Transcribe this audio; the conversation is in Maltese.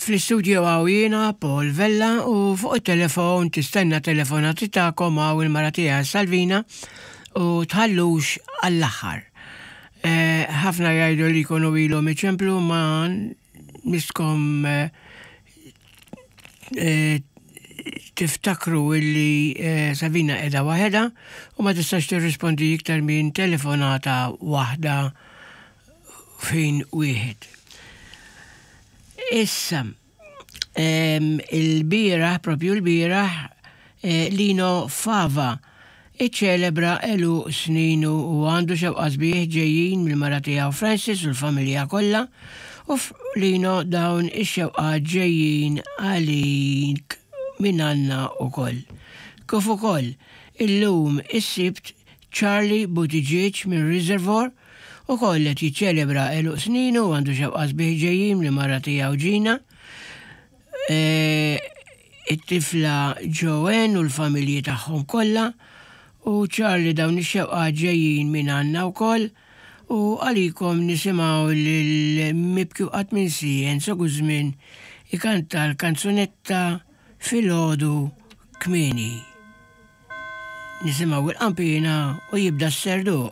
Fl-istudio hawn jiena Paul Vella u fuq it-telefon tistenna telefonati tagħkom hawn il-mara tiegħi Salvina u tħallux għall-aħħar. Eh, ħafna jgħidu li jkunu ilhom iċemplu ma nistkom eh, eh, tiftakru illi Savina qiegħda waħedha u ma tistax tirrispondi iktar minn telefonata waħda fejn wieħed. Issa, il-bieraħ, propju l-bieraħ, eh, Lino Fava iċċelebra għeluq sninu u għandu xewqa sbieħ ġejjin mill-mara tiegħu Francis u l-familja kollha u Lino dawn ix-xewqat ġejjin għalik minn għandna ukoll. Kif ukoll illum is-Sibt Charlie Buttigieg minn Reservoir ukoll qed jiċċelebra għeluq sninu u għandu xewqa sbieħ ġejjin mill-mara tiegħu Gina. It-tifla Joanne u l-familji tagħhom kollha u Charlie dawn ix-xewqat ġejjin minn għandna wkoll u għalikom nisimgħu lil Mibki u Qatt Minsi Enzo Guzmin ikanta l-kanzunetta Filgħodu Kmieni. Nisimgħu il-qanpiena u jibda s-serduq.